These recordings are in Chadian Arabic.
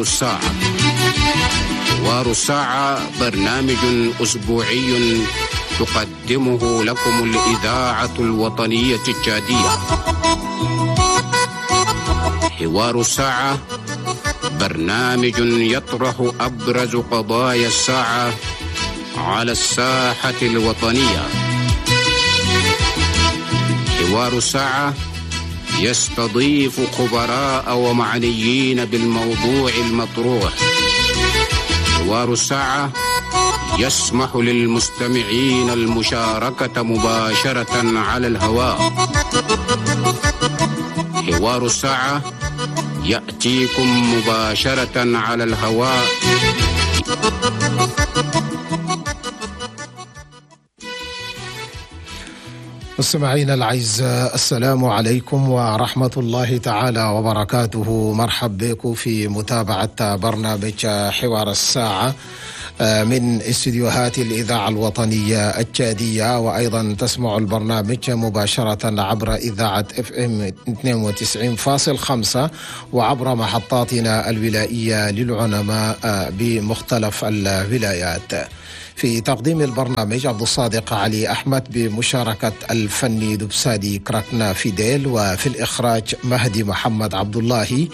الساعة. حوار الساعة برنامج أسبوعي تقدمه لكم الإذاعة الوطنية التشادية. حوار الساعة برنامج يطرح أبرز قضايا الساعة على الساحة الوطنية. حوار الساعة يستضيف خبراء ومعنيين بالموضوع المطروح. حوار الساعة يسمح للمستمعين المشاركة مباشرة على الهواء. حوار الساعة يأتيكم مباشرة على الهواء. مستمعينا الأعزاء، السلام عليكم ورحمة الله تعالى وبركاته. مرحب بكم في متابعة برنامج حوار الساعة من استديوهات الإذاعة الوطنية التشادية، وأيضا تسمع البرنامج مباشرة عبر إذاعة FM 92.5 وعبر محطاتنا الولائية للعلماء بمختلف الولايات. في تقديم البرنامج عبد الصادق علي أحمد بمشاركة الفني دبسادي كراكنا فيديل، وفي الإخراج مهدي محمد عبد الله.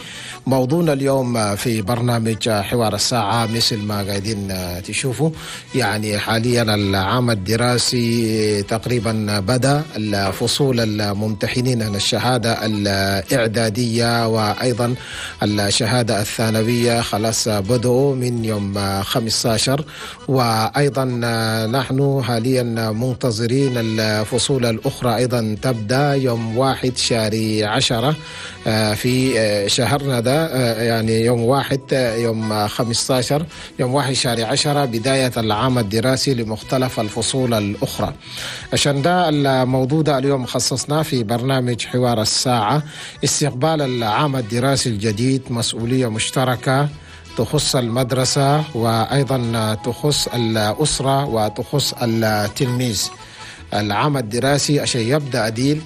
موضوعنا اليوم في برنامج حوار الساعة مثل ما قاعدين تشوفوا، يعني حاليا العام الدراسي تقريبا بدأ، الفصول الممتحنين الشهادة الإعدادية وأيضا الشهادة الثانوية خلاص بدأوا من يوم 15، وأيضا نحن حاليا منتظرين الفصول الأخرى أيضا تبدأ يوم 1 شهر 10 في شهرنا ده، يعني يوم 1 يوم 15 يوم 1 شهر 10 بداية العام الدراسي لمختلف الفصول الأخرى. عشان ده الموضوع ده اليوم خصصناه في برنامج حوار الساعة، استقبال العام الدراسي الجديد، مسؤولية مشتركة تخص المدرسة وأيضا تخص الأسرة وتخص التلميذ. العام الدراسي عشان يبدأ أديل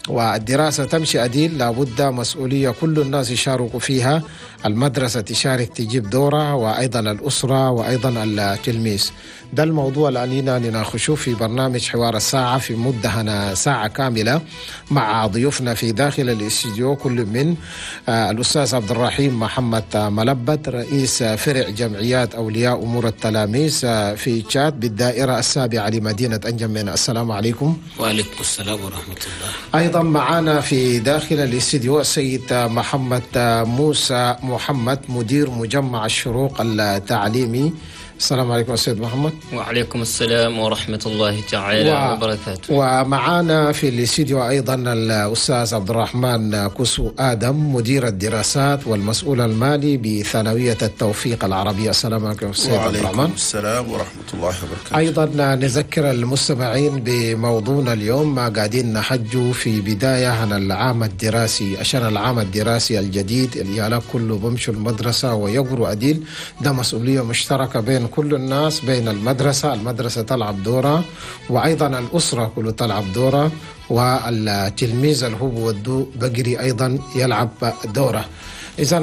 والدراسة تمشي أديل لابد مسؤولية كل الناس يشاركوا فيها، المدرسة تشارك تجيب دورة، وأيضا الأسرة وأيضا التلميذ. ده الموضوع اللي علينا نناقشه في برنامج حوار الساعة في مدة هنا ساعة كاملة مع ضيوفنا في داخل الاستديو، كل من الأستاذ عبد الرحيم محمد ملبت رئيس فرع جمعيات أولياء أمور التلاميذ في تشاد بالدائرة السابعة لمدينة أنجمينا. السلام عليكم. وعليكم السلام ورحمة الله. أيضا معنا في داخل الاستديو السيد محمد موسى محمد مدير مجمع الشروق التعليمي. السلام عليكم سيد محمد. وعليكم السلام ورحمة الله تعالى وبركاته. ومعنا في الاستديو أيضا الأستاذ عبد الرحمن كسو آدم مدير الدراسات والمسؤول المالي بثانوية التوفيق العربية. السلام عليكم سيد عبد الرحمن. وعليكم السلام ورحمة الله وبركاته. أيضا نذكر المستمعين بموضوعنا اليوم، ما قاعدين نحجوا في بداية عن العام الدراسي، عشان العام الدراسي الجديد اللي كله بمشوا المدرسة ويقروا أديل، ده مسؤولية مشتركة بين كل الناس، بين المدرسة، المدرسة تلعب دورة، وأيضا الأسرة كله تلعب دورة، والتلميذ اللي هو بودو بقري أيضا يلعب دورة. إذا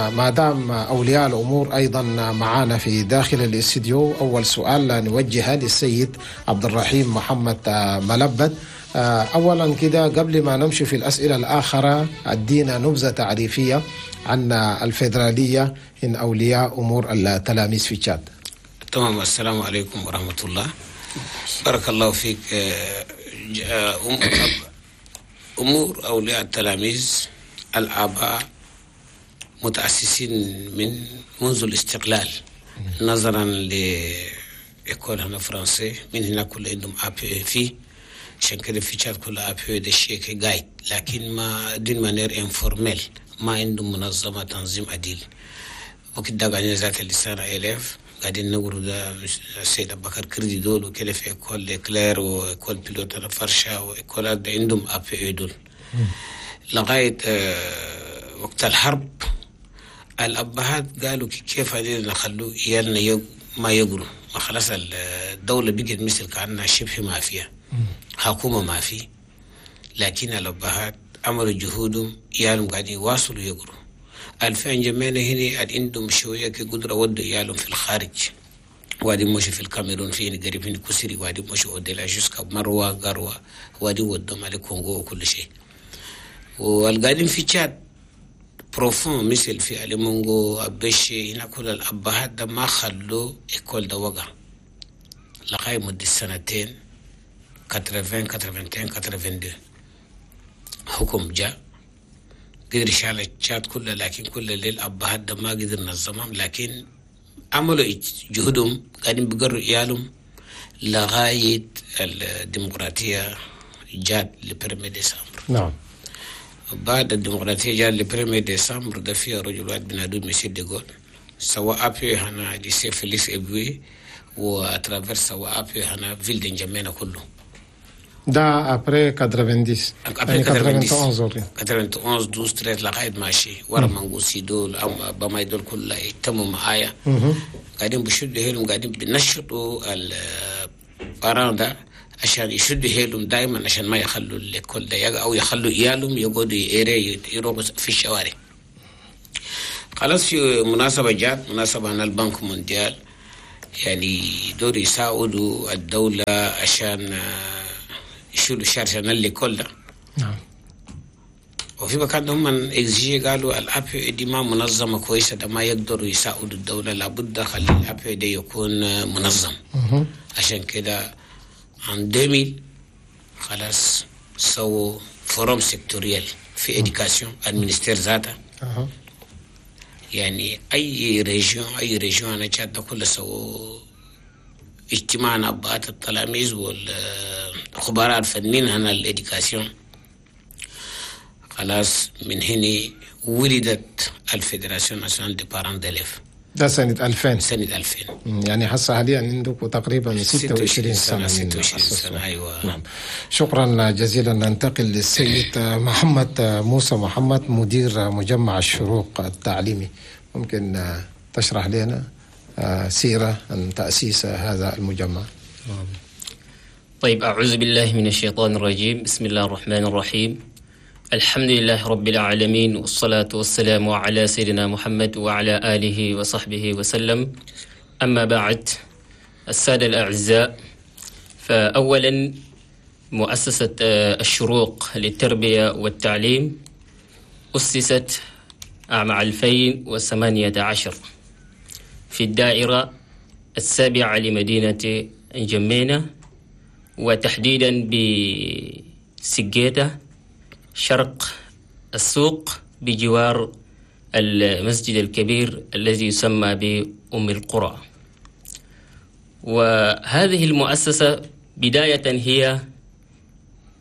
ما دام أولياء الأمور أيضا معانا في داخل الاستديو، أول سؤال نوجهه للسيد عبد الرحيم محمد ملبد. أولا كده قبل ما نمشي في الأسئلة الآخرة، أدينا نبذة تعريفية عن الفيدرالية إن أولياء أمور التلاميذ في تشاد. تمام. السلام عليكم ورحمة الله. بارك الله فيك. أمور أولياء التلاميذ الآباء متأسسين من منذ الاستقلال، نظرا ل école هنا فرنسي، من هنا كل عندهم APE في عشان كده في تشاد كل APE ده شيء قايد، لكن ما d'une manière informelle، ما عندهم منظمة تنظيم عديل. وكده قاعدين ذات اللسان élèves قاعدين نقولوا ده السيد أبو بكر كردي دول وكده في école كلير و école pilote فرشة و école ده عندهم APE دول لغاية وقت الحرب. الأبهات قالوا كيف هذين نخلوا عيالنا ما يقروا، ما خلاص الدولة بقت مثل كأنها شبه ما فيها حكومة ما في، لكن الأبهات عملوا جهودهم عيالهم قاعدين يواصلوا يقروا. 2000 جمعنا هنا عندهم شوية قدرة ودوا عيالهم في الخارج، وادي مشوا في الكاميرون، في هنا قريب هنا كسري، وادي مشوا au-delà jusqu'à مروة قروة، وادي ودهم على كونغو وكل شيء. والقاعدين في تشاد profond مثل في أليمونغو أبشي هنا كل الأبهات ده ما خلوا école ده وقع لغاية مدة سنتين 80 81 82 حكم جاء قدر شال التشاد كله، لكن كل الليل أبهات ده ما قدر نظمهم، لكن عملوا جهدهم قاعدين بيقروا عيالهم لغاية الديمقراطية جات le premier décembre. نعم. بعد الديمقراطية جات le premier décembre ده فيها رجل واحد بنادو مسيو ديغول سوا APE هنا lycée فيليكس إبوي و à travers سوا APE هنا ville de نجمينا كله. ده après 90 après يعني 90 91 91 12 13 لغاية ماشي ورا منغوسي دول أو بماي دول كلها يتموا معايا، قاعدين بشدوا هيلهم، قاعدين بنشطوا ال parents ده عشان يشدوا هيلهم دائما عشان ما يخلوا l'école ده او يخلوا عيالهم يقعدوا يروحوا في الشوارع. خلاص في مناسبة جات مناسبة عن ال Banque mondiale يعني دور يساعدوا الدولة عشان يشيلوا charge عن l'école ده. نعم. وفي مكان هم exiger قالوا ال APE دي ما منظمة كويسة، ده ما يقدروا يساعدوا الدولة، لابد خلي ال APE دي يكون منظم. عشان كده en 2000 خلاص سووا forum sectoriel في éducation ال ministère ذاته. يعني اي région اي région انا تشاد كله سووا اجتماع ابهات التلاميذ والخبراء الفنيين هنا ال éducation. خلاص من هنا ولدت ال fédération nationale des parents d'élèves. ده سنة 2000. سنة 2000. يعني هسه حاليا عندكم تقريبا 26 سنة. 26 سنة أيوة. نعم. شكرا جزيلا. ننتقل للسيد محمد موسى محمد مدير مجمع الشروق التعليمي. ممكن تشرح لنا سيرة عن تأسيس هذا المجمع؟ طيب، أعوذ بالله من الشيطان الرجيم، بسم الله الرحمن الرحيم، الحمد لله رب العالمين، والصلاة والسلام على سيدنا محمد وعلى آله وصحبه وسلم. أما بعد، السادة الأعزاء، فأولا مؤسسة الشروق للتربية والتعليم أسست عام 2018 في الدائرة السابعة لمدينة جمينة، وتحديدا بسجيتة شرق السوق بجوار المسجد الكبير الذي يسمى بأم القرى. وهذه المؤسسة بداية هي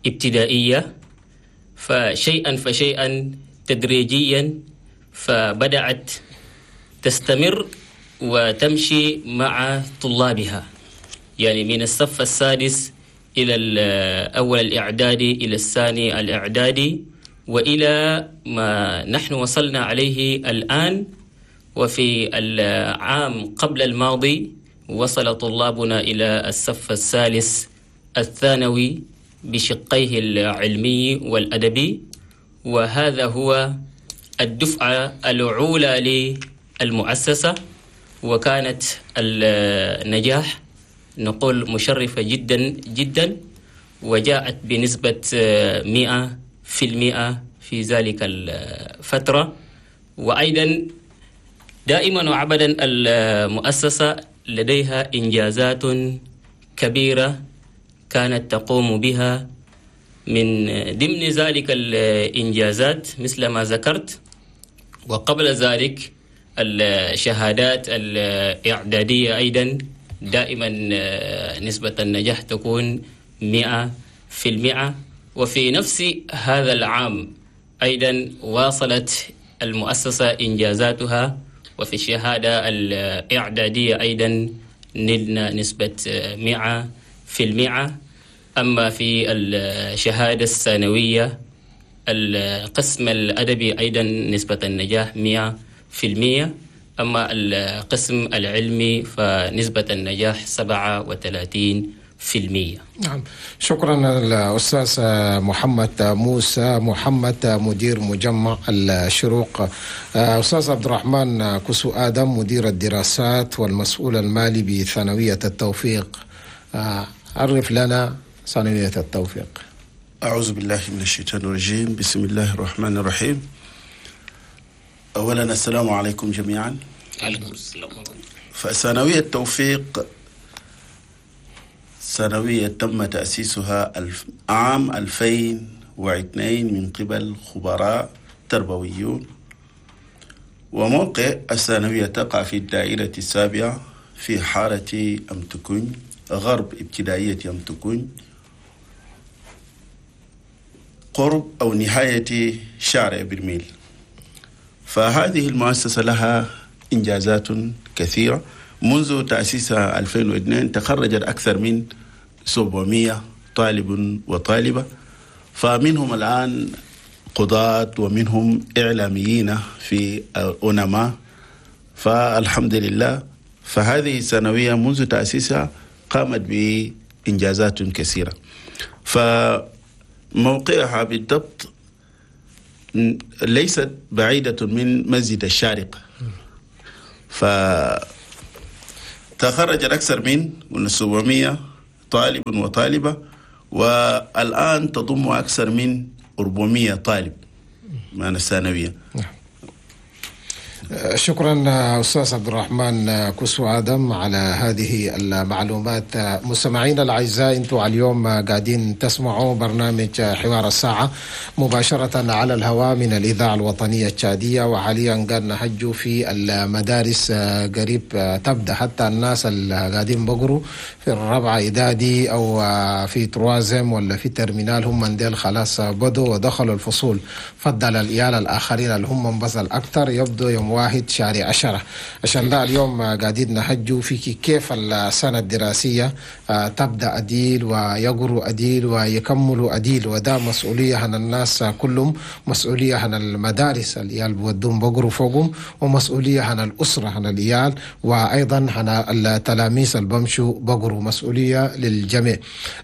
ابتدائية، فشيئا فشيئا تدريجيا فبدأت تستمر وتمشي مع طلابها، يعني من الصف السادس إلى الأول الإعدادي إلى الثاني الإعدادي وإلى ما نحن وصلنا عليه الآن. وفي العام قبل الماضي وصل طلابنا إلى الصف الثالث الثانوي بشقيه العلمي والأدبي، وهذا هو الدفعة الأولى للمؤسسة، وكانت النجاح نقول مشرفة جدا جدا، وجاءت بنسبة 100% في ذلك الفترة. وأيضا دائما وأبدا المؤسسة لديها إنجازات كبيرة كانت تقوم بها، من ضمن ذلك الإنجازات مثل ما ذكرت، وقبل ذلك الشهادات الإعدادية أيضا دائما نسبة النجاح تكون 100%. وفي نفس هذا العام أيضا واصلت المؤسسة إنجازاتها، وفي الشهادة الإعدادية أيضا نلنا نسبة 100%. أما في الشهادة الثانوية القسم الأدبي أيضا نسبة النجاح 100%، أما القسم العلمي فنسبة النجاح 37%. في%. نعم، شكرا الأستاذ محمد موسى محمد مدير مجمع الشروق. أستاذ عبد الرحمن كسو آدم مدير الدراسات والمسؤول المالي بثانوية التوفيق، عرف لنا ثانوية التوفيق. أعوذ بالله من الشيطان الرجيم، بسم الله الرحمن الرحيم. أولا السلام عليكم جميعا. عليكم السلام. فثانوية التوفيق ثانوية تم تأسيسها عام 2002 من قبل خبراء تربويون، وموقع الثانوية تقع في الدائرة السابعة في حارة أمتكون، غرب ابتدائية أمتكون، قرب أو نهاية شارع برميل. فهذه المؤسسة لها إنجازات كثيرة. منذ تأسيسها 2002 تخرجت أكثر من 700 طالب وطالبة، فمنهم الآن قضاة ومنهم إعلاميين في أونما، فالحمد لله. فهذه الثانوية منذ تأسيسها قامت بإنجازات كثيرة. فموقعها بالضبط ليست بعيدة من مسجد الشارقة، فتخرج أكثر من 700 طالب وطالبة، والآن تضم أكثر من 400 طالب من الثانوية. شكرا أستاذ عبد الرحمن كسو آدم على هذه المعلومات. مستمعينا الأعزاء، أنتم اليوم قاعدين تسمعوا برنامج حوار الساعة مباشرة على الهواء من الإذاعة الوطنية التشادية، وحاليا قاعد نحجوا في المدارس قريب تبدأ، حتى الناس اللي قاعدين بقروا في الرابعة إعدادي أو في troisième ولا في terminale، هم من ديل خلاص بدوا ودخلوا الفصول. فضل العيال الآخرين اللي هم بس الأكثر يبدو يوم 1/10. عشان ده اليوم قاعدين نحجوا في كيف السنة الدراسية تبدأ أديل ويقروا أديل ويكملوا أديل، وده مسؤولية عن الناس كلهم، مسؤولية عن المدارس العيال بودهم بقروا فوقهم، ومسؤولية عن الأسرة عن العيال، وأيضا عن التلاميذ اللي بمشوا بقروا، مسؤولية للجميع.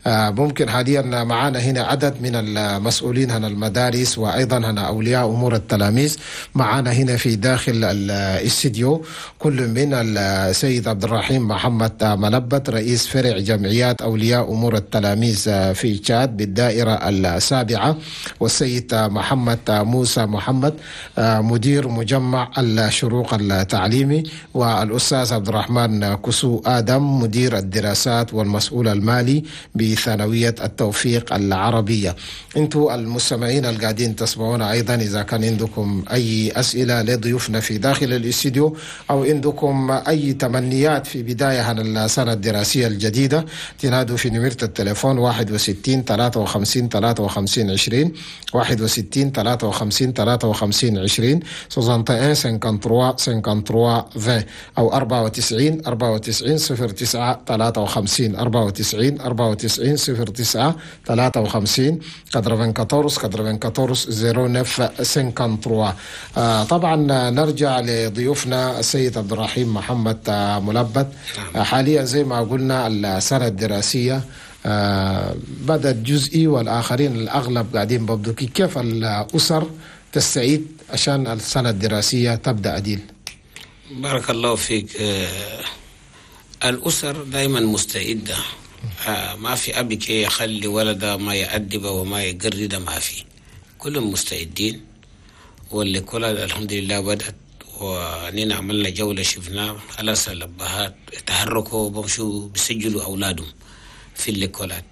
ممكن حاليا معانا هنا عدد من المسؤولين عن المدارس وأيضا عن أولياء أمور التلاميذ معانا هنا في داخل الاستديو، كل من السيد عبد الرحيم محمد ملبت رئيس فرع جمعيات أولياء أمور التلاميذ في تشاد بالدائرة السابعة، والسيد محمد موسى محمد مدير مجمع الشروق التعليمي، والأستاذ عبد الرحمن كسو آدم مدير الدراسات والمسؤول المالي بثانوية التوفيق العربية. انتوا المستمعين القاعدين تسمعونا أيضا، إذا كان عندكم أي أسئلة لضيوفنا في داخل الاستديو أو عندكم أي تمنيات في بداية عن السنة الدراسية الجديدة، تنادوا في نمرة التليفون 61 53 53 20، 61 53 53 20، 61 53 53 20، أو 94 94 09 53، 94 94 09 53، 94 94 09 53. طبعا نرجع لضيوفنا السيد عبد الرحيم محمد ملبت. حاليا زي ما قلنا السنة الدراسية بدأت جزئي والآخرين الأغلب قاعدين ببدو، كيف الأسر تستعيد عشان السنة الدراسية تبدأ أديل؟ بارك الله فيك. الأسر دائما مستعدة، ما في أبي كي يخلي ولده ما يأدبه وما يقرده، ما في، كلهم مستعدين. واللي كلها الحمد لله بدأت، ونينا عملنا جولة شفنا على الأبهات تحركوا بمشوا بيسجلوا أولادهم في الليكولات.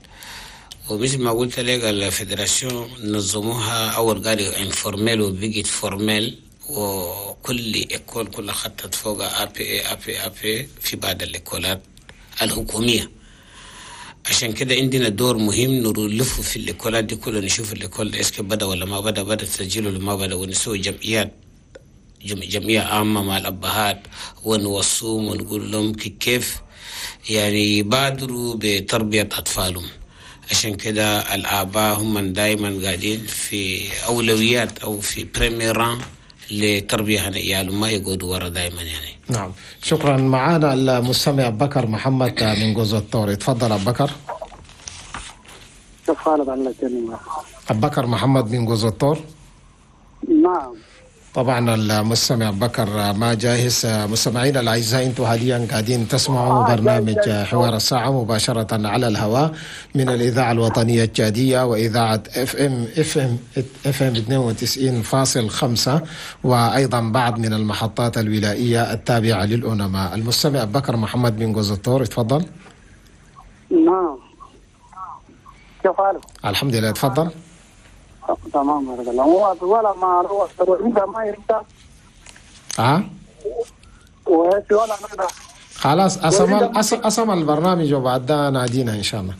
ومثل ما قلت لك ال fédération نظموها أول قالوا informel وبقيت formel، وكل école كل خطت فوق APE APE APE في بعض الليكولات الحكومية. عشان كده عندنا دور مهم نلف في الليكولات دي كلها، نشوف ال école ده est-ce que بدا ولا ما بدا، بدا تسجيله ولا ما بدا، ونسوي جمعيات جمعية عامة مع الأبهات ونوصوهم ونقول لهم كيف يعني يبادروا بتربية أطفالهم. عشان كده الآباء هم دائما قاعدين في أولويات أو في premier rang لتربية عيالهم، ما يقعدوا ورا دائما يعني. نعم، شكرا. معانا المستمع بكر محمد من جوز الطور، تفضل أبو بكر. كيف حالك الله يسلمك؟ أبو بكر محمد من جوزوتور. نعم. طبعا المستمع بكر ما جاهز. مستمعينا الاعزاء، انتم حاليا قاعدين تسمعوا برنامج حوار الساعة مباشرة على الهواء من الاذاعة الوطنية التشاديه واذاعة FM 92.5 وايضا بعض من المحطات الولائيه التابعة للأونما. المستمع بكر محمد من جوزوتور، تفضل. نعم، كيف حالك؟ الحمد لله، تفضل. تمام، بارك الله. ولا ما انت ما يرد. ولا خلاص، أسمع البرنامج وبعدها نادينا إن شاء الله.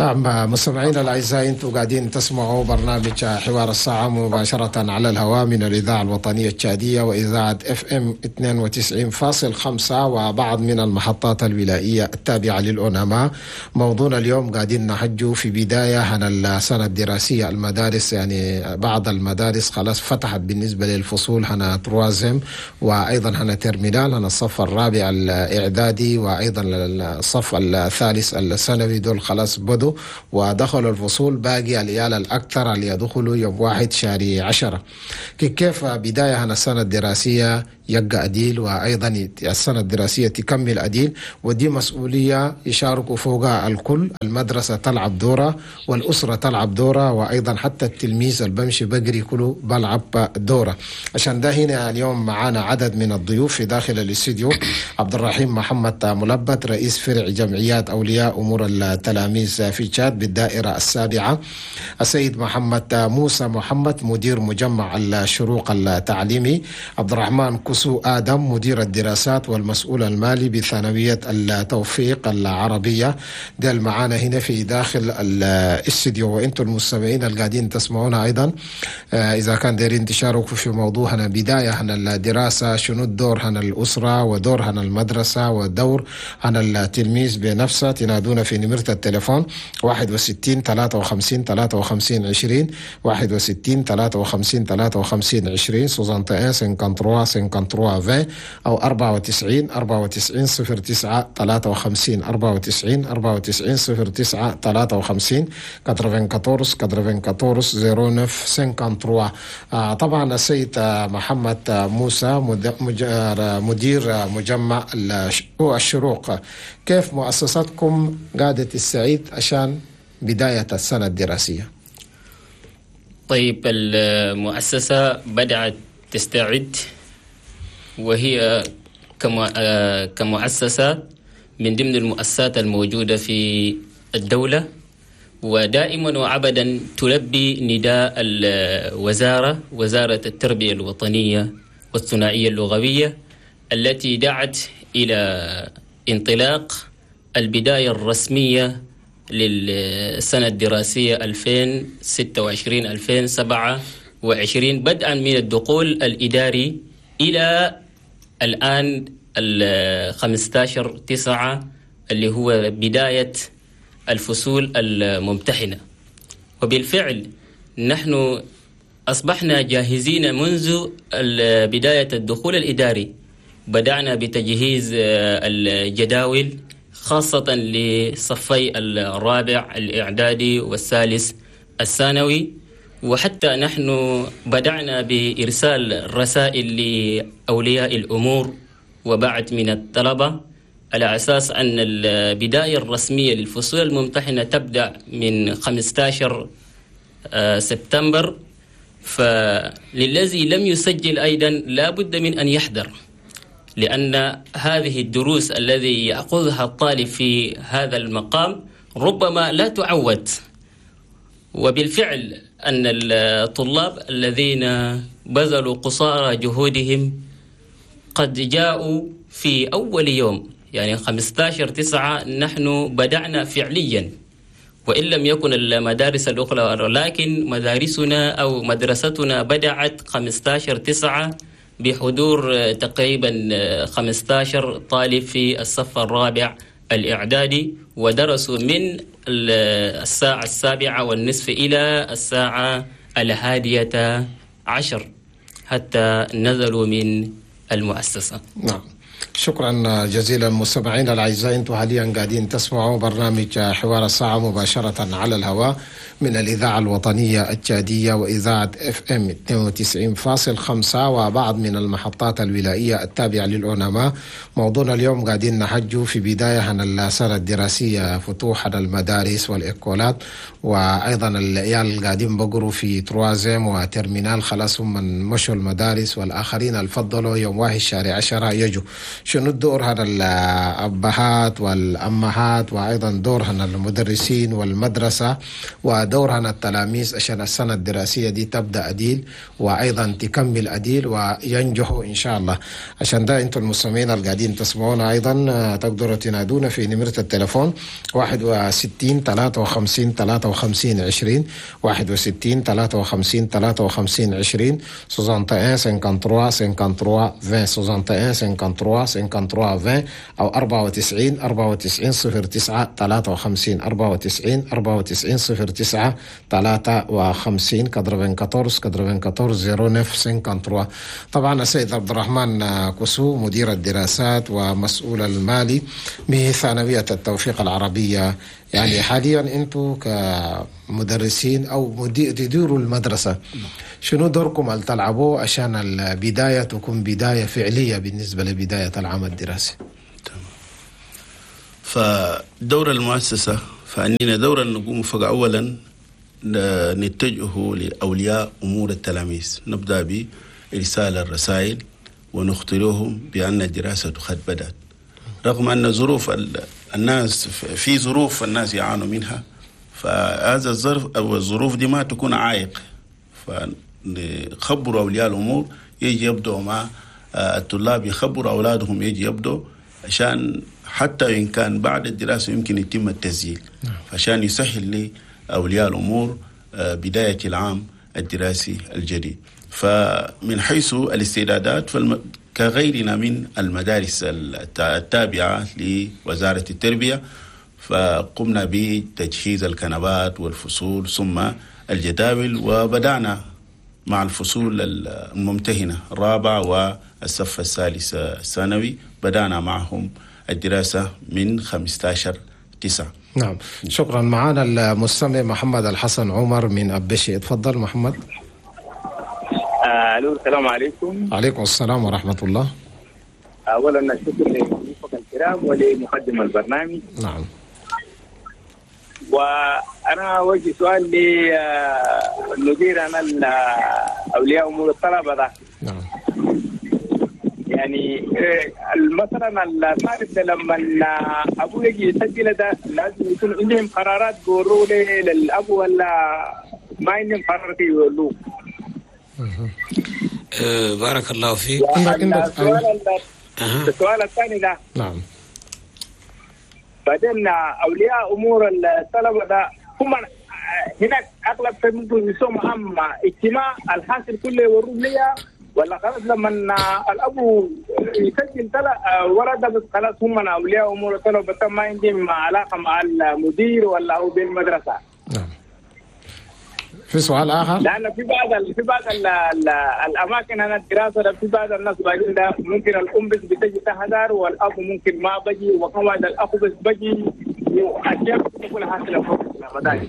نعم، مستمعينا الأعزاء، أنتم قاعدين تسمعوا برنامج حوار الساعة مباشرة على الهواء من الإذاعة الوطنية التشادية وإذاعة FM 92.5 وبعض من المحطات الولائية التابعة للأونما. موضوعنا اليوم قاعدين نحجه في بداية عن السنة الدراسية. المدارس يعني بعض المدارس خلاص فتحت بالنسبة للفصول هنا troisième وأيضا هنا terminale، هنا الصف الرابع الإعدادي وأيضا الصف الثالث الثانوي، دول خلاص بدوا ودخلوا الفصول. باقي العيال الأكثر اللي يدخلوا يوم 1/10. كيف بداية هنا السنة الدراسية يبقى أديل، وأيضا السنة الدراسية تكمل أديل، ودي مسؤولية يشاركوا فوقها الكل. المدرسة تلعب دورة والأسرة تلعب دورة، وأيضا حتى التلميذ اللي بمشي بقري كله بلعب دورة. عشان ده هنا اليوم معانا عدد من الضيوف في داخل الاستديو. عبد الرحيم محمد ملبت، رئيس فرع جمعيات أولياء أمور التلاميذ في تشاد بالدائرة السابعة. السيد محمد موسى محمد، مدير مجمع الشروق التعليمي. عبد الرحمن كسو آدم، مدير الدراسات والمسؤول المالي بثانوية التوفيق العربية. دل معانا هنا في داخل الاستديو، وانتم المستمعين القاعدين تسمعونا أيضا إذا كان دايرين تشاركوا في موضوعنا بداية عن الدراسة، شنو الدور عن الأسرة ودور عن المدرسة ودور عن التلميذ بنفسه، تنادونا في نمرة التليفون 61 53 53 20، 61 53 53 20، 61 53 53 20، أو 94 94 09 53، 94 94 09 53، 94 94 09 53. طبعا السيد محمد موسى مدير مجمع الشروق، كيف مؤسستكم قاعدة تستعيد عشان بداية السنة الدراسية؟ طيب، المؤسسة بدأت تستعد، وهي كمؤسسة من ضمن المؤسسات الموجودة في الدولة، ودائما وأبدا تلبي نداء الوزارة، وزارة التربية الوطنية والثنائية اللغوية، التي دعت إلى انطلاق البداية الرسمية للسنة الدراسية 2026-2027، بدءا من الدخول الإداري إلى الآن 15/9 اللي هو بداية الفصول الممتحنة. وبالفعل نحن أصبحنا جاهزين منذ بداية الدخول الإداري. بدأنا بتجهيز الجداول خاصة لصفي الرابع الإعدادي والثالث الثانوي، وحتى نحن بدأنا بإرسال رسائل لأولياء الأمور وبعد من الطلبة على أساس أن البداية الرسمية للفصول الممتحنة تبدأ من 15 سبتمبر. فللذي لم يسجل أيضا لا بد من أن يحضر، لأن هذه الدروس الذي يأخذها الطالب في هذا المقام ربما لا تعود. وبالفعل أن الطلاب الذين بذلوا قصارى جهودهم قد جاءوا في أول يوم، يعني 15/9 نحن بدأنا فعليا، وإن لم يكن المدارس الأخرى، لكن مدارسنا أو مدرستنا بدأت 15/9 بحضور تقريبا 15 طالب في الصف الرابع الإعدادي، ودرسوا من الساعة 7:30 إلى الساعة 11 حتى نزلوا من المؤسسة. نعم. شكرا جزيلا مستمعينا الاعزاء، انتم حاليا قاعدين تسمعوا برنامج حوار الساعة مباشرة على الهواء من الاذاعة الوطنية التشاديه واذاعة FM 92.5 وبعض من المحطات الولائيه التابعة للأوناما. موضوعنا اليوم قاعدين نحجوا في بداية عن السنة الدراسية، فتوح المدارس والايكولات، وايضا العيال قاعدين بقروا في troisième و terminale، خلاص هم من مشوا المدارس، والاخرين الفضلوا يوم 1 شهر 10 يجوا. شنو الدور هذا الأبهات والأمهات، وأيضا دور هنا المدرسين والمدرسة، ودور هنا التلاميذ عشان السنة الدراسية دي تبدأ أديل وأيضا تكمل أديل وينجحوا إن شاء الله. عشان ده أنتم المستمعين القاعدين تسمعونا أيضا تقدروا تنادونا في نمرة التلفون 61 53 53 20، 61 53 53 20، 61 53 53 20، 61 53 53 20، أو 94 94 09 53، 94 94 09 53، 94 94 09 53. طبعا السيد عبد الرحمن كسو مدير الدراسات ومسؤول المالي بثانوية التوفيق العربية، يعني حاليا انتم كمدرسين او تديروا المدرسة، شنو دوركم اللي تلعبوه عشان البداية تكون بداية فعليه بالنسبة لبداية العام الدراسي؟ تمام. فدور المؤسسة فاننا دورا نقوم فاولا نتجه لاولياء امور التلاميذ، نبدا بارسال الرسائل ونخطرهم بان الدراسة قد بدات، رغم ان ظروف الناس في ظروف الناس يعانوا منها، فهذا الظرف او الظروف دي ما تكون عائق. فنخبروا اولياء الامور يجي يبدوا مع الطلاب، يخبروا اولادهم يجي يبدوا، عشان حتى ان كان بعد الدراسة يمكن يتم التسجيل، عشان يسهل لاولياء الامور بداية العام الدراسي الجديد. فمن حيث الاستعدادات كغيرنا من المدارس التابعة لوزارة التربية، فقمنا بتجهيز الكنبات والفصول ثم الجداول، وبدأنا مع الفصول الممتهنة الرابع والصف الثالث الثانوي، بدأنا معهم الدراسة من 15/9. نعم، شكرا. معنا المستمع محمد الحسن عمر من أبشي، تفضل محمد. الو، السلام عليكم. عليكم السلام ورحمة الله. اولا الشكر لضيوفك الكرام ولمقدم البرنامج. نعم. وانا اوجه سؤال للمدير انا اولياء امور الطلبة ده. نعم. يعني مثلا الطالب ده لما ابوه يجي يسجل ده لازم يكون عندهم قرارات بيقولوا للاب ولا ما عندهم قرارات يقولوه؟ بارك الله فيك. السؤال الثاني ده. نعم. بعدين اولياء امور الطلبة ده هم هناك اغلب في ممكن يسموا اما اجتماع الحاصل كله يوروه ليا، ولا خلاص لما الاب يسجل ولده خلاص هم اولياء امور الطلبة ما عندهم علاقة مع المدير ولا هو بالمدرسة. نعم. في سؤال اخر؟ لان في بعض الاماكن انا الدراسة في بعض الناس باجين ده ممكن الام بس بتجي تحضر والاب ممكن ما بجي، وكمان الاخ بس بجي، واشياء بتكون حاصله فوق المدارس.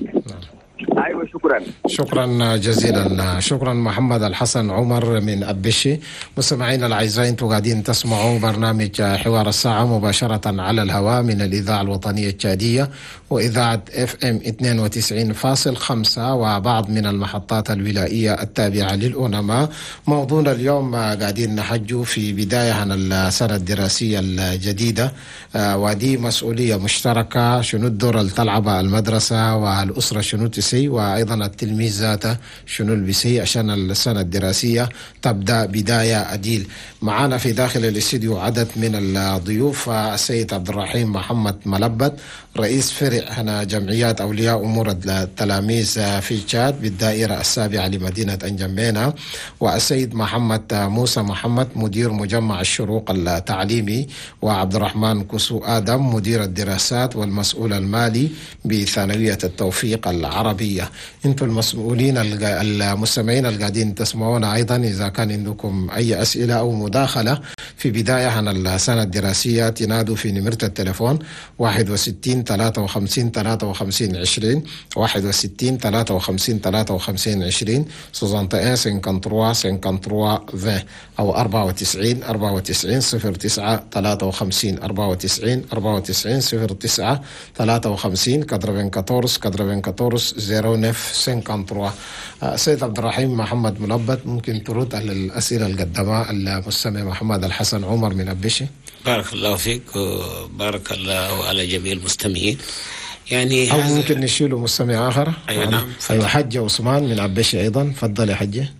ايوه، شكرا. شكرا جزيلا. شكرا محمد الحسن عمر من أبشي. مستمعينا الاعزاء، انتم قاعدين تسمعوا برنامج حوار الساعة مباشرة على الهواء من الاذاعة الوطنية التشاديه واذاعة FM 92.5 وبعض من المحطات الولائيه التابعة للأونما. موضوعنا اليوم قاعدين نحجوا في بداية عن السنة الدراسية الجديدة، ودي مسؤولية مشتركة، شنو الدور اللي تلعبها المدرسة والاسرة شنو تسي، وايضا التلميذ ذاته شنو البسي عشان السنة الدراسية تبدا بداية اديل. معانا في داخل الاستديو عدد من الضيوف، السيد عبد الرحيم محمد ملبت رئيس فرع هنا جمعيات اولياء امور التلاميذ في تشاد بالدائره السابعة لمدينة انجمينا، والسيد محمد موسى محمد مدير مجمع الشروق التعليمي، وعبد الرحمن كسو ادم مدير الدراسات والمسؤول المالي بثانويه التوفيق العربية. الدراسية. أنتم المسؤولين المستمعين القاعدين تسمعونا أيضا، إذا كان عندكم أي أسئلة أو مداخلة في بداية عن السنة الدراسية تنادوا في نمرة التليفون 61 53 53 20، 61 53 53 20، 61 53 53 20، أو 94 94 09 53، 94 94 09 53، 94 94 09 53. سيد عبد الرحيم محمد ملبت، ممكن ترد على الأسئلة اللي قدمها المستمع محمد الحسن عمر من أبشي؟ بارك الله فيك وبارك الله على جميع المستمعين. يعني أو ممكن نشيله مستمع آخر. أيوة نعم. أيوة، حجة عثمان من أبشي أيضا، تفضل يا حجة.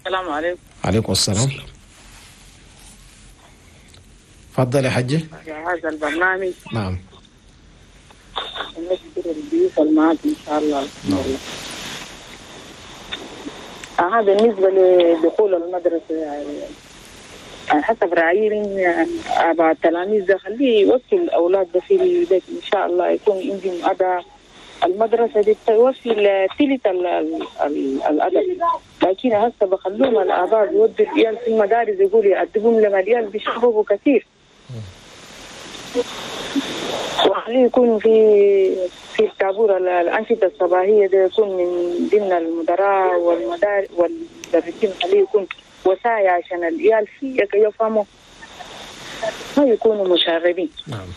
السلام عليكم. عليكم السلام. تفضل يا حجة. هذا البرنامج. نعم. نشكر الضيوف المعاد إن شاء الله. نعم. بالنسبة لدخول المدرسة يعني حسب رأيي أبا التلاميذ ده خليه يوصل الأولاد ده في البيت إن شاء الله يكون عندهم أداء. المدرسة دي توفي ثلث الأدب، لكن هسه بخلوهم الآباء بيودوا العيال في المدارس يقولوا يأدبهم لما العيال بيشربوا كثير، وخليه يكون في الطابور الأنشطة الصباحية ده يكون من ضمن المدراء والمدارس والمدرسين، خليه يكون وسائل عشان العيال فيه يفهموا ما يكونوا مشاغبين. نعم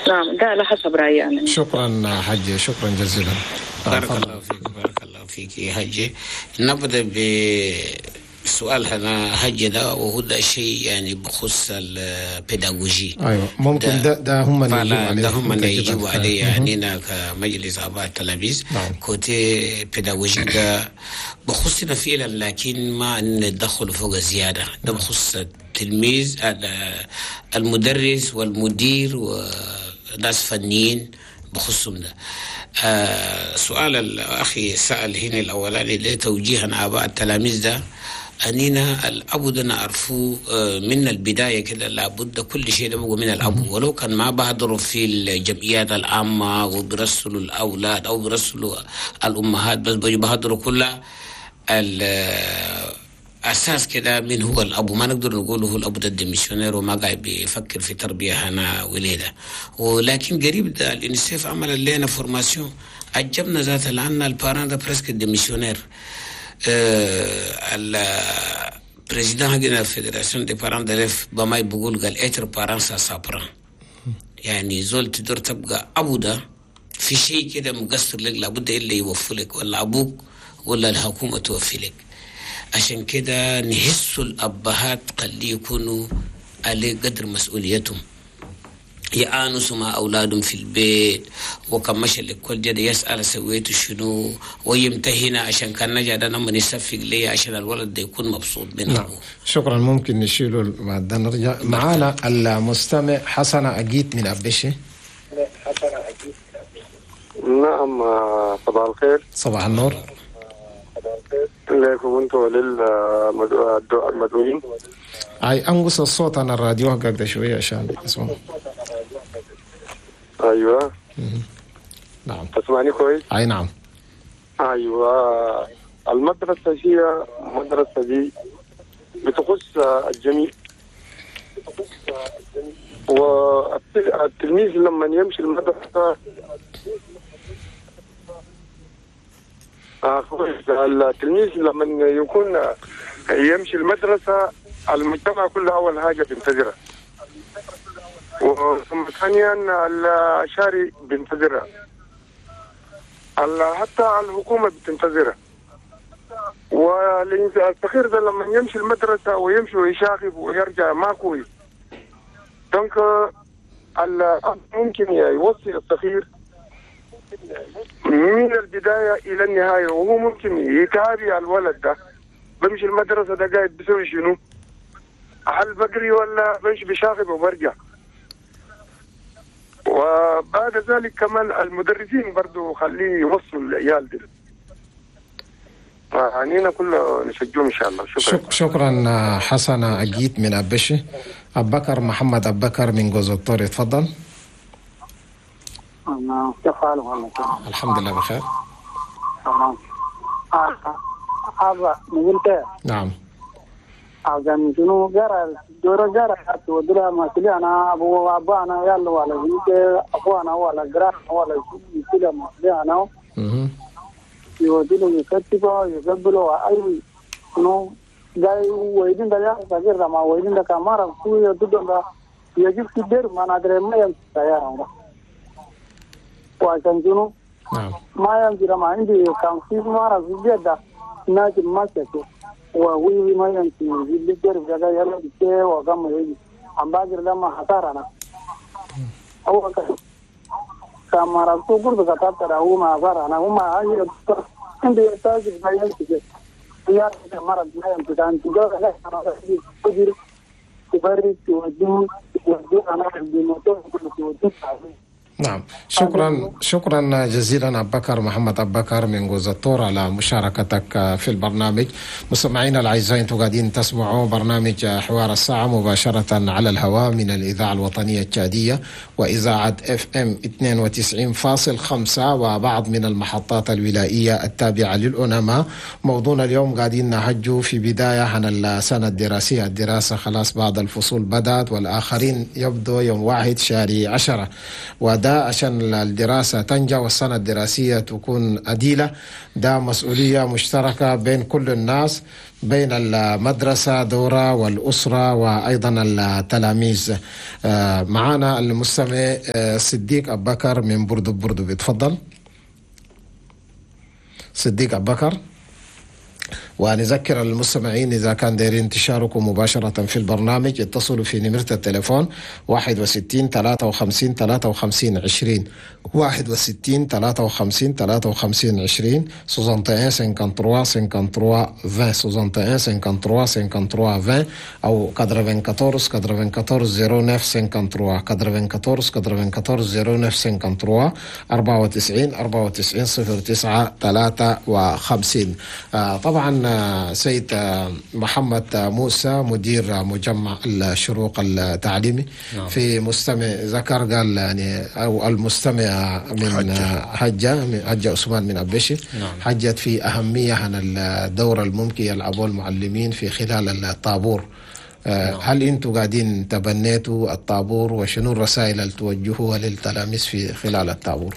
نعم، ده على حسب رأيي أنا. شكرا حجي، شكرا جزيلا. بارك الله فيك. بارك الله فيك يا حجي. نبدأ بسؤال هنا حجي ده، وهو ده شيء يعني بخص البيداغوجي. أيوة ممكن ده هم اللي يجيبوا عليه. ده هم اللي يجيبوا عليه يعني كمجلس آباء التلاميذ. نعم. côté pédagogique ده بخصنا فعلا، لكن ما ندخل فوق زيادة. ده بخص التلميذ، المدرس والمدير وناس فنيين بخصهم ده. سؤال الأخي سأل هنا الأولاني ليه توجيها آباء التلاميذ ده، أننا الأبو ده نعرفه من البداية كده، لابد كل شيء ده من الأبو، ولو كان ما بحضروا في الجمعيات العامة وبرسلوا الأولاد أو برسلوا الأمهات، بس بحضروا كلها أساس كده من هو الأبو. ما نقدر نقول هو الأبو ده démissionnaire وما قاعد بيفكر في تربية هنا وليدة، ولكن قريب ده الإنسيف عمل لنا formation عجبنا ذاته، لأن ال parents ده presque démissionnaires. ال président حقنا fédération des parents d'élèves بما بيقول قال être parent ça s'apprend، يعني زول تقدر تبقى أبو ده في شيء كده مقصر لك لابد إلا يوفي لك، ولا أبوك ولا الحكومة توفي لك. عشان كده نحس الأبهات قد يكونوا على قدر مسؤوليتهم، يعانسوا مع أولادهم في البيت، وكم مشى لكل جد يسأل سويت شنو ويمتهن، عشان كان نجا ده لما نصفق ليه عشان الولد ده يكون مبسوط منه. نعم. شكرا. ممكن نشيله بعد نرجع معانا المستمع حسن أجيت من أبشي. نعم، صباح الخير. صباح النور لكم انتم وللمدعوين. اي انقص الصوت عن الراديو حقك ده شويه عشان اسمع. ايوه. نعم تسمعني كويس؟ اي نعم. ايوه، المدرسه هي المدرسه دي بتخص الجميع، والتلميذ لما يمشي المدرسه التلميذ لما يكون يمشي المدرسة المجتمع كله أول حاجة بينتظرها، وثم ثانيا الشارع بينتظرها، حتى الحكومة بتنتظرها. والصغير ده لما يمشي المدرسة ويمشي ويشاغب ويرجع ما كويس. donc الأب ممكن يوصي الصغير من البداية إلى النهاية، وهو ممكن يتابع الولد ده بمشي المدرسة ده قاعد بيسوي شنو، هل بقري ولا بمشي بشاغب وبرجع. وبعد ذلك كمان المدرسين برضو خليه يوصلوا العيال دي. عنينا كله نشجعهم إن شاء الله. شكرا. شكرا حسن أجيت من أبشي. أبو بكر محمد أبو بكر من جوز الطور، تفضل. كيف حالك والله؟ الحمد لله بخير. تمام. هذا نقولت. نعم. عشان شنو جرى دورة جرى ودرا ما كلي أنا أبو أبا أنا يلا ولا بنت أخوانا ولا جرا ولا شيء كلي ما كلي أنا. يودينه يكتبه يقبله أي شنو جاي ويدين ده يا ما ويدين ده كمارة كوي يدودن ده يجيب كبير ما ندري ما يمشي يا وعشان شنو؟ نعم. ما يمشي ما عندي كان في مرة في جدة ناجم ما شكو ووي ما يمشي اللي جرب جدا يلا بيجي وقام يجي عم باجر لما خسرنا هو كمارة كوكور بكتاب ترى هو ما خسرنا هو ما هاي عندي تاجر ما يمشي يا مرة ما يمشي كان تجار لا تجار تبرد تودو تودو أنا عندي موتور تودو. نعم، شكرا جزيلا أبو بكر محمد أبو بكر من جوزة على مشاركتك في البرنامج. مستمعينا الأعزاء، أنتم قاعدين تسمعوا برنامج حوار الساعة مباشرة على الهواء من الإذاعة الوطنية التشادية وإذاعة FM 92.5 وبعض من المحطات الولائية التابعة للأوناما. موضوعنا اليوم قاعدين نهجو في بداية عن السنة الدراسية، الدراسة خلاص بعض الفصول بدأت والآخرين يبدو يوم 1/10، وده عشان الدراسة تنجح والسنة الدراسية تكون أديلة. ده مسؤولية مشتركة بين كل الناس، بين المدرسة دورة والأسرة وأيضا التلاميذ. معنا المستمع صديق أبو بكر من بوردو. بيتفضل صديق أبو بكر. ونذكر المستمعين إذا كان دايرين تشاركوا مباشرة في البرنامج اتصلوا في نمرة التليفون 61 53 53 20 61 53 53 20 61 53 53 20 61 53 53 20 أو 94 94 09 53 94 94 09 53 94 94 09 53. طبعا سيد محمد موسى مدير مجمع الشروق التعليمي. نعم. في مستمع ذكر قال يعني أو المستمع من حجة عثمان من أبشي. نعم. حجت في أهمية عن الدور الممكن يلعبوه المعلمين في خلال الطابور. نعم. هل أنتم قاعدين تبنيتوا الطابور وشنو الرسائل اللي توجهوها للتلاميذ في خلال الطابور؟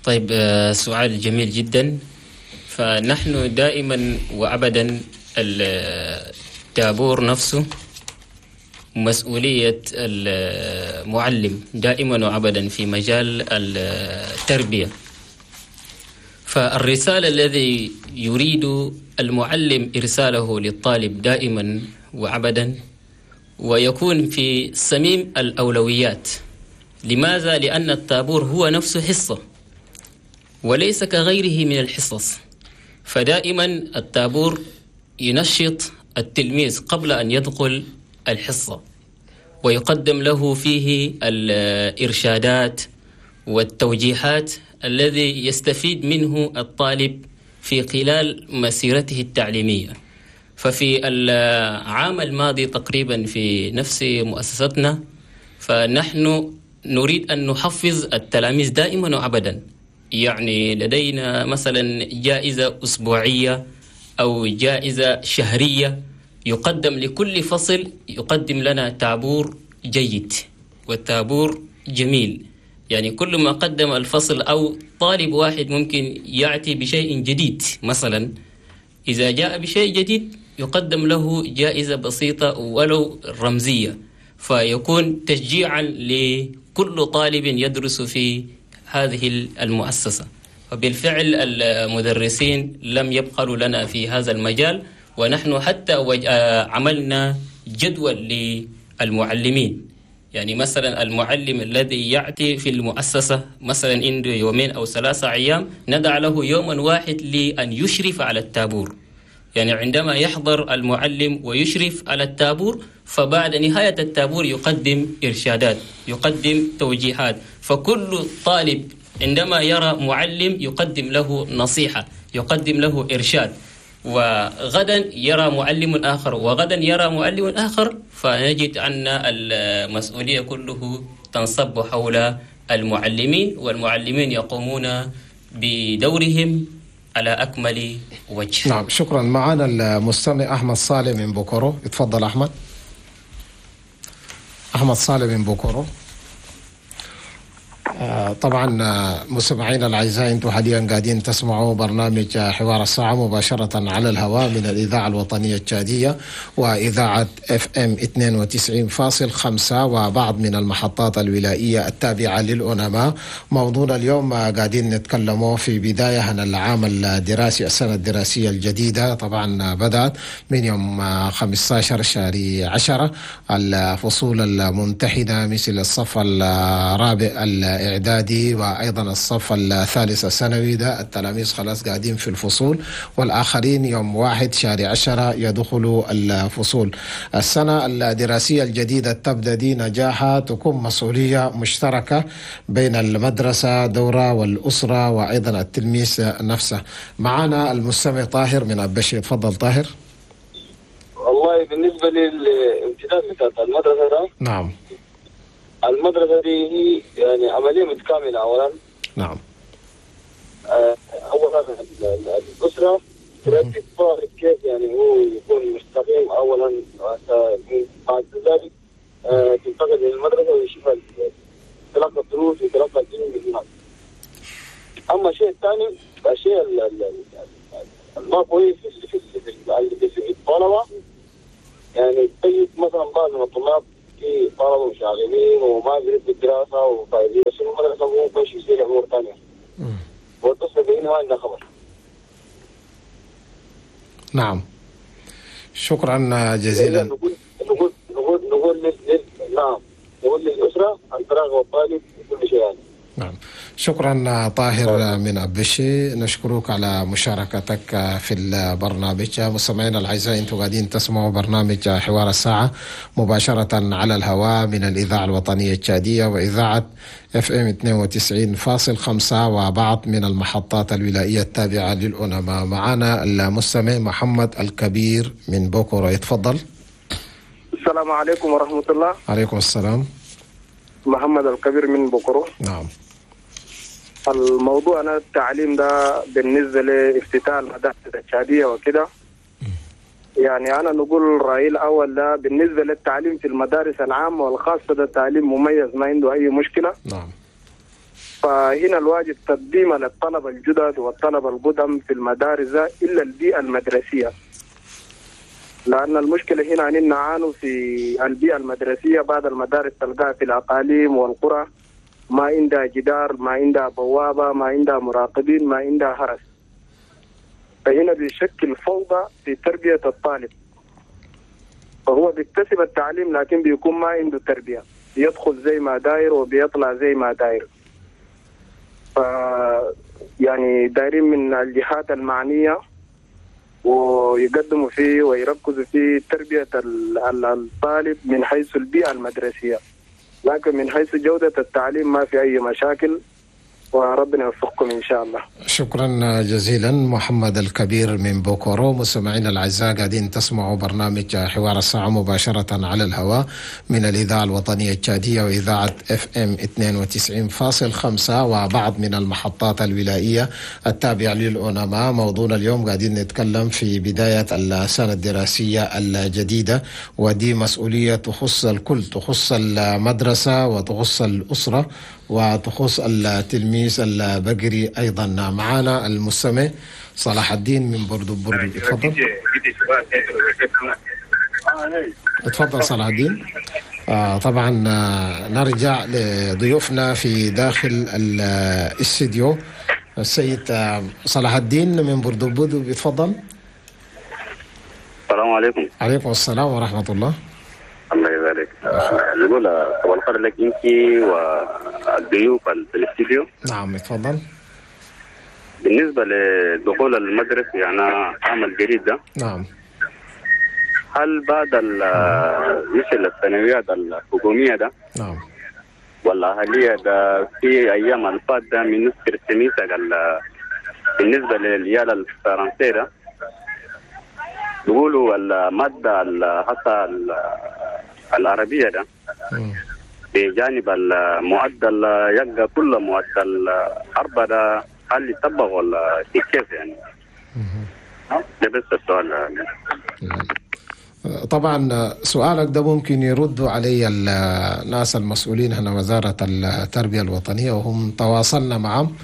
طيب، سؤال جميل جدا. فنحن دائما وأبدا الطابور نفسه مسؤولية المعلم دائما وأبدا في مجال التربية. فالرسالة الذي يريد المعلم إرساله للطالب دائما وأبدا ويكون في صميم الأولويات. لماذا؟ لأن الطابور هو نفسه حصة وليس كغيره من الحصص. فدائما الطابور ينشط التلميذ قبل أن يدخل الحصة ويقدم له فيه الإرشادات والتوجيهات الذي يستفيد منه الطالب في خلال مسيرته التعليمية. ففي العام الماضي تقريبا في نفس مؤسستنا فنحن نريد أن نحفز التلاميذ دائما وأبدا. يعني لدينا مثلا جائزة أسبوعية أو جائزة شهرية يقدم لكل فصل، يقدم لنا طابور جيد والطابور جميل. يعني كل ما قدم الفصل أو طالب واحد ممكن يأتي بشيء جديد، مثلا إذا جاء بشيء جديد يقدم له جائزة بسيطة ولو رمزية، فيكون تشجيعا لكل طالب يدرس في هذه المؤسسة. وبالفعل المدرسين لم يبخلوا لنا في هذا المجال، ونحن حتى عملنا جدول للمعلمين. يعني مثلا المعلم الذي يأتي في المؤسسة مثلا عنده 2 أو 3 أيام، ندع له يوما واحد لأن يشرف على الطابور. يعني عندما يحضر المعلم ويشرف على الطابور، فبعد نهاية الطابور يقدم إرشادات، يقدم توجيهات. فكل طالب عندما يرى معلم يقدم له نصيحة، يقدم له إرشاد، وغدا يرى معلم آخر، وغدا يرى معلم آخر، فنجد أن المسؤولية كله تنصب حول المعلمين، والمعلمين يقومون بدورهم على أكمل وجه. نعم، شكرا. معنا المستمع أحمد صالح من بوكورو. اتفضل أحمد. أحمد صالح من بوكورو. طبعا مستمعينا الاعزاء، انتم حاليا قاعدين تسمعوا برنامج حوار الساعة مباشرة على الهواء من الاذاعة الوطنية التشاديه واذاعة FM 92.5 وبعض من المحطات الولائيه التابعة للأونما. موضوعنا اليوم قاعدين نتكلموا في بداية عن العام الدراسي، السنة الدراسية الجديدة طبعا بدات من يوم 15 شهر 10. الفصول الممتحنة مثل الصف الرابع الإعدادي وأيضا الصف الثالث الثانوي، ده التلاميذ خلاص قاعدين في الفصول، والآخرين يوم 1 شهر 10 يدخلوا الفصول. السنة الدراسية الجديدة تبدأ دي نجاحها تكون مسؤولية مشتركة بين المدرسة دورة والأسرة وأيضا التلميذ نفسه. معنا المستمع طاهر من أبشي. تفضل طاهر. والله بالنسبة للامتداد بتاعت المدرسة ده، نعم، المدرسة دي هي يعني عملية متكاملة. أولا نعم، أولا الأسرة ترتب الطالب كيف يعني هو يكون مستقيم أولا، بعد ذلك تنتقل للمدرسة ويشوف تلقى الدروس وتلقى الدين من هناك. أما الشيء الثاني، الشيء ما كويس في الطلبة، يعني تجد مثلا بعض من الطلاب في طلبة مشاغبين وما بيريد الدراسة وفايدين، بس المدرسة مو بيش يصير أمور ثانية والطفل بينه ما عنده خبر. نعم، شكرا جزيلا. نقول نقول نقول نقول نعم نقول للأسرة أن تراقب الطالب كل شيء يعني. نعم، شكرا طاهر من أبشي، نشكرك على مشاركتك في البرنامج. مستمعينا الأعزاء، انتم قاعدين تسمعوا برنامج حوار الساعة مباشرة على الهواء من الإذاعة الوطنية التشادية وإذاعة FM 92.5 وبعض من المحطات الولائية التابعة للأونما. معنا المستمع محمد الكبير من بوكورو. يتفضل. السلام عليكم ورحمة الله. عليكم السلام. محمد الكبير من بوكورو. نعم. الموضوع أنا التعليم ده بالنسبة لافتتاح المدارس التشادية وكده، يعني أنا نقول رأيي الأول ده بالنسبة للتعليم في المدارس العامة والخاصة، ده تعليم مميز ما عنده أي مشكلة. نعم. فهنا الواجب تقديمه للطلبة الجدد والطلبة القدم في المدارس ده إلا البيئة المدرسية، لأن المشكلة هنا أننا نعانوا في البيئة المدرسية. بعض المدارس تلقاها في الأقاليم والقرى ما عندها جدار، ما عندها بوابة، ما عندها مراقبين، ما عندها حرس، فهنا بيشكل فوضى في تربية الطالب. فهو بيكتسب التعليم لكن بيكون ما عنده تربية، بيدخل زي ما داير وبيطلع زي ما داير. ف يعني دايرين من الجهات المعنية ويقدموا فيه ويركزوا في تربية الطالب من حيث البيئة المدرسية، لكن من حيث جودة التعليم ما في أي مشاكل، وربنا يوفقكم إن شاء الله. شكرا جزيلا محمد الكبير من بوكورو. مستمعينا الأعزاء، قاعدين تسمعوا برنامج حوار الساعة مباشرة على الهواء من الإذاعة الوطنية التشادية وإذاعة FM 92.5 وبعض من المحطات الولائية التابعة للأونما. موضوعنا اليوم قاعدين نتكلم في بداية السنة الدراسية الجديدة، ودي مسؤولية تخص الكل، تخص المدرسة وتخص الأسرة وتخص التلميذ البقري أيضا. معنا المستمع صلاح الدين من بردو بردو. اتفضل. اتفضل صلاح الدين. طبعا نرجع لضيوفنا في داخل الاستديو. السيد صلاح الدين من بردو بردو، اتفضل. السلام عليكم. عليكم السلام ورحمة الله. الله يبارك. نقول أول خير لك أنت والضيوف في الاستديو. نعم اتفضل. بالنسبة لدخول المدرسة يعني عام الجديد ده، نعم، هل بعد مثل الثانويات الحكومية ده، نعم، والأهلية ده في أيام الفات ده من نصف السميسة بالنسبة للعيال الفرنسية ده بيقولوا المادة حتى العربية ده بجانب المعدل يبقى كل معدل 4 ده هل يطبق ولا كيف يعني؟ ده بس السؤال. طبعا سؤالك ده ممكن يردوا علي الناس المسؤولين هنا وزارة التربية الوطنية، وهم تواصلنا معهم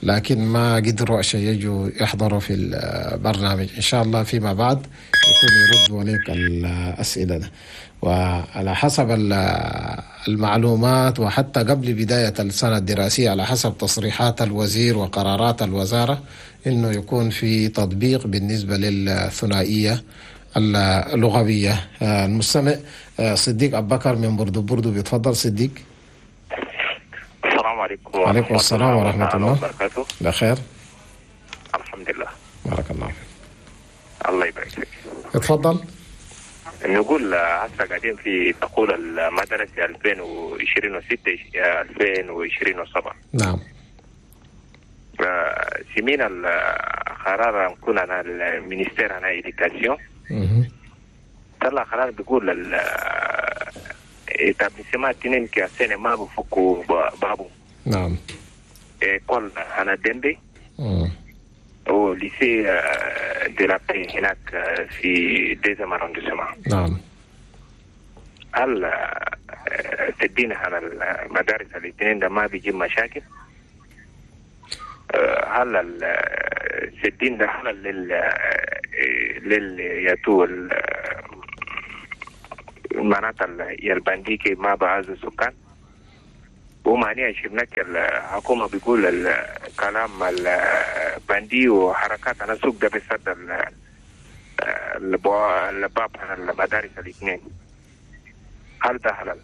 لكن ما قدروا عشان يجوا يحضروا في البرنامج. إن شاء الله فيما بعد يكون يردوا عليك الأسئلة ده. وعلى حسب المعلومات وحتى قبل بداية السنة الدراسية على حسب تصريحات الوزير وقرارات الوزارة إنه يكون في تطبيق بالنسبة للثنائية اللغوية. المستمع صديق أبو بكر من بردو بردو، بيتفضل صديق. السلام عليكم. وعليكم السلام ورحمة الله وبركاته. بخير الحمد لله، بارك الله فيك. الله يبارك فيك. اتفضل. نقول هسه قاعدين في دخول المدرسة 2026 2027. نعم. سمينا القرار نكون انا ال ministère انا éducation طلع قرار بيقول ال établissement تنين كسنة ما بفكوا بابو. نعم. école انا ديمبي و lycée de la paix هناك في deuxième arrondissement. نعم. هل تدينا على المدارس الاثنين ده ما بيجيب مشاكل؟ هل السدين ده هل لل ياتو معناتها البنديكي ما بعز السكان؟ ومعنيها شفناك الحكومة بيقول الكلام البندي وحركات على السوق ده بيسد الباب على المدارس الاثنين. هل ده حلال؟